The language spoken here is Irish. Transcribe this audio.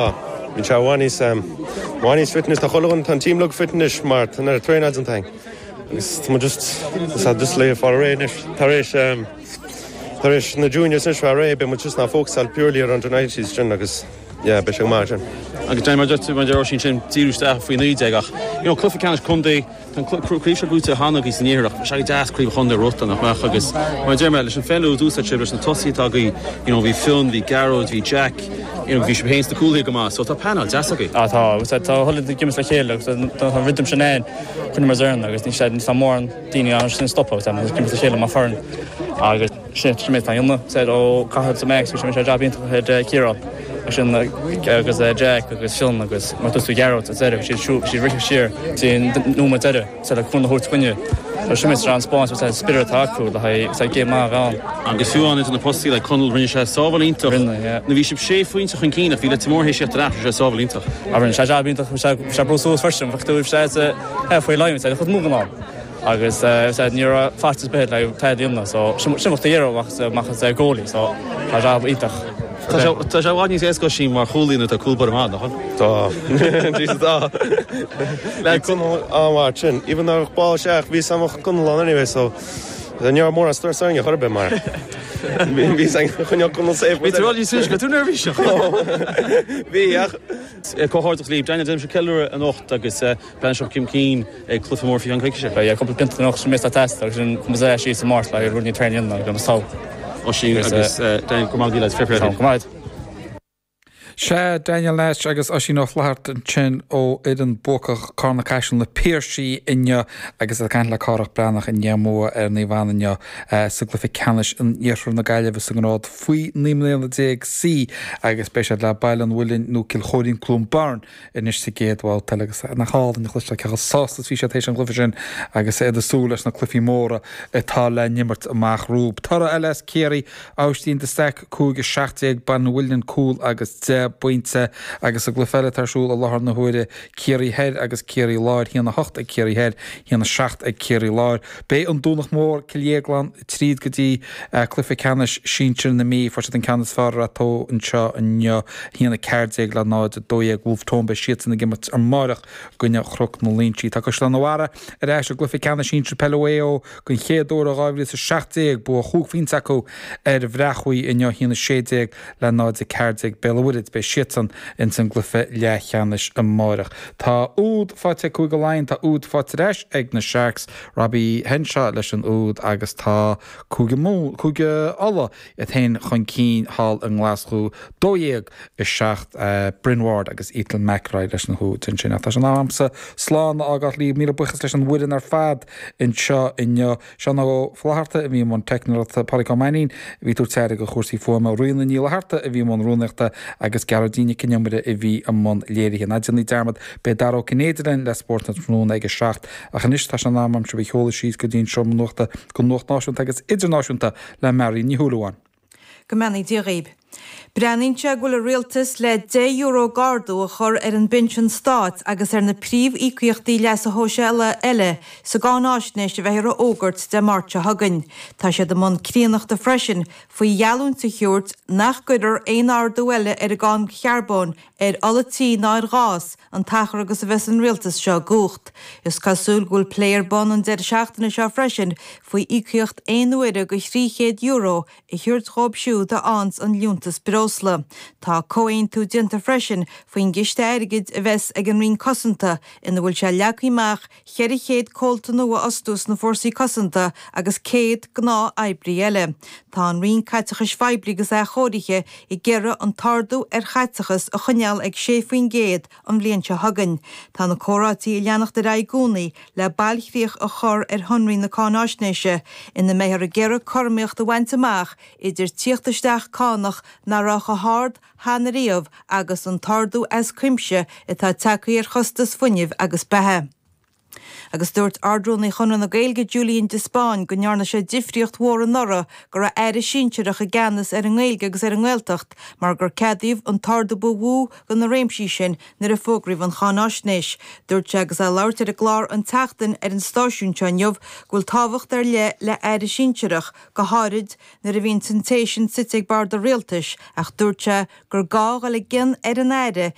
Bíonn sé i bhfad níos, i bhfad níos fit anois. Tá chuile dhuine, tá an team uilig fit anois mar tá an oiread traenáil déanta againn. Agus tá muid just, tá just le fáil réidh anois. Tar éis, tar éis na juniors anois fáil réidh, beidh muid just ag fócasáil purely ar under 19s sin agus yeah, beidh sé go maith sin. Agus Danny, mar a deir tú, mar a deir Oisín sin, díriú isteach faoi 19 ach, you know, cluiche ceannais contae, Tá an craobh seo buaite cheana agaibh san iarthar ach bheadh sé go deas craobh chontae a bhuachtáil, nach mbeadh? Agus mar a deir mé, leis an pheil a d'úsáid sibh, leis na tosaithe atá agaibh, you know, bhí Fionn, bhí Gearóid, bhí Jack, you know, bhí sibh féin sna cúlaithe go maith, so tá painéal deas agaibh. Ah tá, agus tá chuile dhuine ag imirt le chéile agus tá an rhythm sin ann, coinne mar fhoireann agus ní sé, níl mórán daoine ann sin stopadh agus tá ag imirt le chéile mar foireann agus sin sin méid atá ionadh, said ó Cathal to Max, bhí sé jab iontach ag Ciarán sin agus Jack agus Fionn agus mar dúirt tú Gearóid sa deireadh, bhí siad bhí siad rite siar dtí an nóiméad deireadh said le cúnamh a thabhairt dúinne. So sin méid an spáint said spiorad atá acu le haghaidh said game maith a bheith ann. Agus fiú amháin idir na postaí le Conall rinne sé sábháil iontach. Rinne, yeah. Nó bhí sibh sé phointe chun cinn ach bhí Leitir Móir théis tíocht ar ais, rinne sé sábháil iontach. Ah rinne sé jab iontach, bhí sé bhí sé ag brú suas freisin, bheadh tú bhí sé faoi line said chomh mór an am. Agus ní raibh faitíos ar bith le tada a dhéanamh so sin bheadh tú iarraidh amach as goalie so tá jab iontach. Tá sé tá sé i bhfad níos éasca Oisín mar chúlaí nuair atá cúl báire maith, nach bhfuil? Tá. Jesus tá. Bhí Conall an-mhaith sin. Even though ball isteach bhí sam Conall ann anyway so ní raibh mórán stress orainn chor ar bith mar bhí san choinneáil Conall safe. Bhí tú rá níos túisce, tú neirbhíseach. Bhí ach Comhghairdeas libh. Daniel, déanfaidh sibh ceiliúradh anocht agus Breathnaíonn sibh chun cinn ag cluiche mór faoi cheann coicíse. Beidh cúpla pionta anocht sin ag teastáil agus sin cumas é síos i Máirt le rud níos traenáil a dhéanamh agus tá. Oisín agus Daniel, go maith lads, fair play. Go maith. Sea, Daniel Nash agus Oisín Ó Flatharta ansin ó fhoireann buacach Carna Caiseal Na Piarsaigh inniu agus iad ag caint le Cárthach Breathnach i ndiaidh a mbua ar Naomh Anna inniu sa gcluiche ceannais in Iarthar na Gaillimhe sa ngrád faoi 19 mbliana C agus beidh siad le Baile an Mhuilinn nó Cill Chóirín Cluain Bheirn anois sa gcéad bhabhta eile agus nach álainn a chloisteáil cé chomh sásta is bhí siad théis an chluiche sin agus iad ag súil leis na cluichí móra atá le n-imirt amach rompu. Toradh eile as Ciarraí, Aibhistín de Staic 5 17, Baile an Mhuilinn cúl agus 10 bpointe agus sa gcluiche eile atá ar siúl i láthair na huaire Ciarraí Thoir agus Ciarraí Láir, 1 8 ag Ciarraí Thoir, 1 7 ag Ciarraí Láir. Beidh an Domhnach Mór, Cill Dhéagláin, tríd go dtí cluiche ceannais sinsir na Mí. Fuair siad an ceann is fearr ar Rath Tó anseo inniu, 1 14 le 0 12. Wolfe Tone, beidh siadsan ag imirt amáireach i gcoinne Chnoc na Loinsí. Tá Caisleán an Bharraigh ar ais i gcluiche ceannais sinsir peile Mhaigh Eo den chéad uair ó 2017. Bua chúig phointe acu ar an Bhreac Thuaidh inniu, 1 16 le 0 14. Béal an Mhuirthead, beidh siadsan ins an gcluiche leathcheannais amáireach. Tá úd faighte ag Cúige Laighean, tá úd faighte ar ais ag na Sharks. Robbie Henshaw leis an úd agus tá Cúige Mumhan, Cúige Uladh iad féin chun cinn thall i nGlaschú, 12 7 Bryn Ward agus Ethan McElroy leis na húid ansin. Ach tá sé in am a'msa slán a fhágáil libh. Míle buíochas leis an bhfoireann ar fad anseo inniu. Seán Ó Flatharta a bhí i mbun teicneoireachta, Pádraig Ó Mainnín a bhí ag tabhairt aire do chúrsaí fuaime, Ríona Ní Fhlatharta a bhí i mbun rúnaíochta agus Gearóidín Nic an Iomaire a bhí i mbun léirithe. Ná déanaí dearmad, beidh Dara Ó Cinnéide linn le Spórt an Tráthnóna ag a 7 ach anois tá sé in am a'm sibh a sheoladh síos go dtí an seomra nuachta don nuacht náisiúnta agus idirnáisiúnta le Marion Ní Shúilleabháin. Go mbeannaí Dia dhaoib. Breathnaíonn sé go bhfuil an Rialtas le €10 d'ardú a chur ar an bpinsean stáit agus ar na príomh-íocaíochtaí leasa shóisialaigh eile sa gcáináisnéis a bheifear a fhógairt Dé Máirt seo chugainn. Tá siad i mbun críonnachta freisin faoi gheallúint a thabhairt nach gcuirfear aon ardú eile ar an gcáin charbóin ar ola tí ná ar ghás an t-achar agus a bheas an rialtas seo i gcumhacht. Is cosúil go bhfuil plé ar bun an deireadh seachtaine seo freisin faoi íocaíocht aon uaire de €300 a thabhairt dhóibh siúd a fhaigheanns an liúntas breosla. Tá comhaontú déanta freisin faoin gciste airgid a bheas ag an Roinn Cosanta ina bhfuil sé leagtha amach 400 comhalta nua a fhostú sna Fórsaí Cosanta agus 100 gnáth-oibrí eile. Tá an Roinn Caiteachais Phoiblí agus Athchóirithe ag iarraidh an t-ardú ar chaiteachas a choinneáil ag 6% an bhliain seo chugainn. Tá na comhráití ag leanacht ar aghaidh i gcónaí le bailchríoch a chur ar shonraí na cáináisnéise, ina mbeifear ag iarraidh cothromaíocht a bhaint amach idir tíocht isteach cánach nach raibh chomh hard cheana riamh agus an t-ardú as cuimse atá tagtha ar chostas fuinnimh agus beatha. Agus dúirt Ard-Rúnaí Chonradh na Gaeilge Julian de Spáinn go ndearna sé difríocht mhór anuraidh go raibh aire sinsearach i gceannas ar an nGaeilge agus ar an nGaeltacht mar gur ceadaíodh an t-ardú ba mhó do na réimsí sin nuair a fógraíodh an cháináisnéis. Dúirt sé agus é ag labhairt ar an gclár An tSeachtain ar an stáisiún seo inniu go bhfuil tábhacht ar leith le aire sinsearach, go háirid nuair a bhíonn an té sin suite ag bord an rialtais ach dúirt sé gur gá dhul i gcion ar an aire.